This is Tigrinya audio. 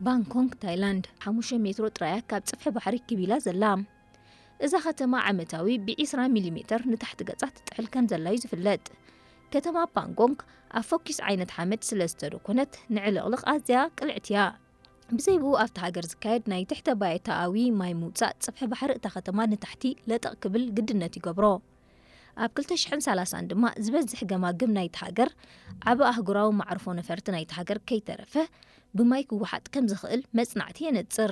ባንኮንግ፣ ታይላንድ፣ ሓሙሽተ ሜትሮ ጥራያ ካብ ጽፍሒ ባሕሪ ክብ ኢላ ዘላ። እዛ ከተማ ዓመታዊ ብ20 ሚሊሜተር ንታሕቲ ገጻ ትጥሕል ከም ዘላ እዩ ዝፍለጥ። ከተማ ባንኮንግ ኣብ ፈኲስ ዓይነት ሓመድ ስለ ዝተደኮነት፣ ንዕልቕልቕ ኣዝያ ቅልዕቲ እያ። ብዘይ ብኡ ኣብቲ ሃገር ዝካየድ ናይ ትሕተ ባይታኣዊ ማይ ምውጻእ፣ ጽፍሒ ባሕሪ እታ ከተማ ንታሕቲ ለጠቕ ክብል ግድነት ይገብሮ። ኣብ 2030 ድማ ዝበዝሕ ገማግም ናይቲ ሃገር፣ ዓቢ ኣህጉራዊ መዕርፎ ነፈርቲ ናይቲ ሃገር ከይተረፈ ብማይ ክወሓጥ ከም ዝኽእል መጽናዕቲ የነጽር።